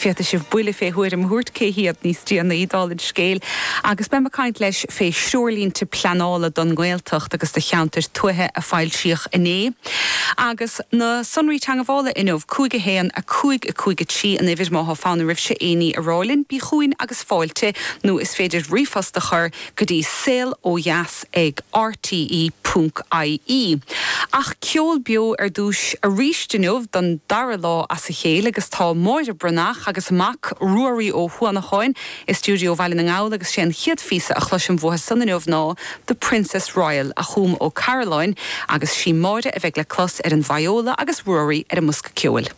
Féadfaidh sibh buille fé thuairim a thabhairt cé hiad níos déanaí, dála an scéil. Agus beidh mé ag caint leis fé threoirlínte pleanála don nGaeltacht agus do cheantair tuaithe a foilsíodh inné. Agus na sonraí teangabhála inniu, 5 1 5 5 3 an uimhir má thá fonn oraibhse aon ní a rá linn, bí chugainn agus fáilte, nó is féidir ríomhphost a chur go dtí saol ó dheas ag rte ponc ie. Ach ceol beo ar dtús arís inniu don dara lá as a chéile agus tá Máire Breathnach agus a mac Ruairí Ó hUanacháin i stiúideo Bhaile na nGall agus sé an chéad phíosa a chloisim uathu san inniu ná The Princess Royal a chum Ó Cairealláin agus sí Máire a bheidh le clos ar an vióla agus Ruairí ar an mbosca ceoil.